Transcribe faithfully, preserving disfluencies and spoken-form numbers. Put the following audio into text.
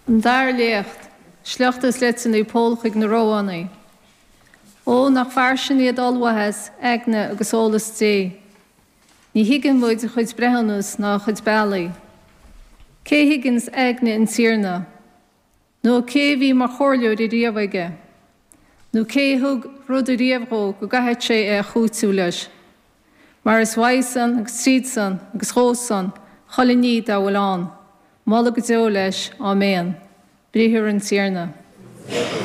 An dara léacht, sliocht as litir Naomh Pól chuig na Rómhánaigh. Ó nach fairsing iad ollmhaitheas, eagna agus eolas Dé. Ní thuigeann muid a chuid breithiúnas ná a chuid bealaí. Cé thuigeanns aigne an Tiarna? Nó cé bhí mar chomhairleoir ariamh aige? Nó cé thug rud ariamh dhó go gcaithfeadh sé é a chúiteamh leis? Mar is uaidh-san agus tríd-san agus dhó-san chuile ní dá bhfuil ann, moladh go deo leis, Áiméan. Briathar an Tiarna.